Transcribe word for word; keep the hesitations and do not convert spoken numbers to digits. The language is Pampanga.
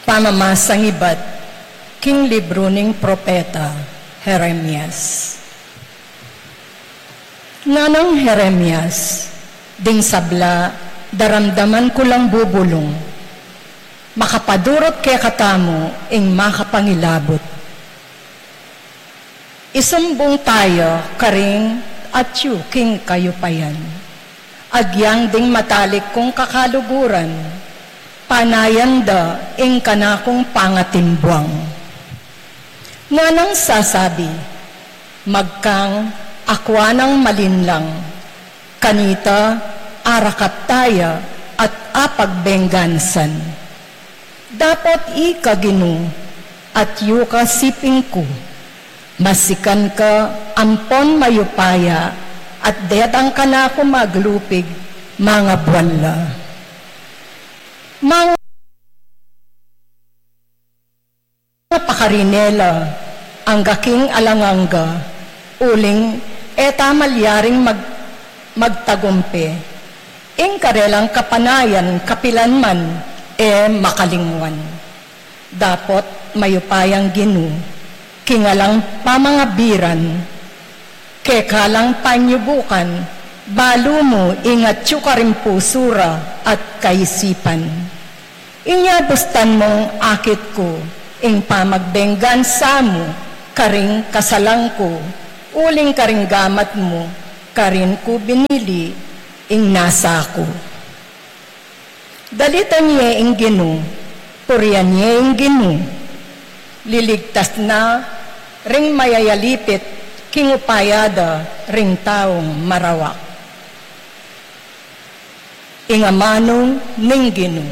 Pamamasang ibat king libru ning propeta Jeremias. Nganang Jeremias, ding sabla daramdaman ku lang bubulung, makapadurut kekatamu ing makapangilabut. Isumbung taya karing atyu king kayupayan. Agyang ding matalik kung kakaluguran, panayan da ing kanakung pangatimbuang. Nganang sasabi, magkang akwa nang malinlang, kanita arakat taya at apagbenggansan. Dapot ika Ginu, atyu ka siping ku, masikan ka ampon mayupaya, at detang kanaku maglupig, mangabuan la. Mang pakarine la angga king alang angga, uling e ta malyaring mag-, magtagumpe. Ing karelang kapanayan kapilan man e makalingwan. Dapot mayupayang Ginu, king alang pamangabiran, keka lang panyubukan, balu mu ing atyu karing pusu ra at kaisipan. Inya bustan mung akit ku ing pamagbenggansa mu karing kasalang ku, uling karing gamat mu karin ku binili ing nasa ku. Dalitan ye ing Ginu, purian ye ing Ginu, liligtas na ring mayayalipit king upaya da ring taung marawak. Ing amanu ning Ginu.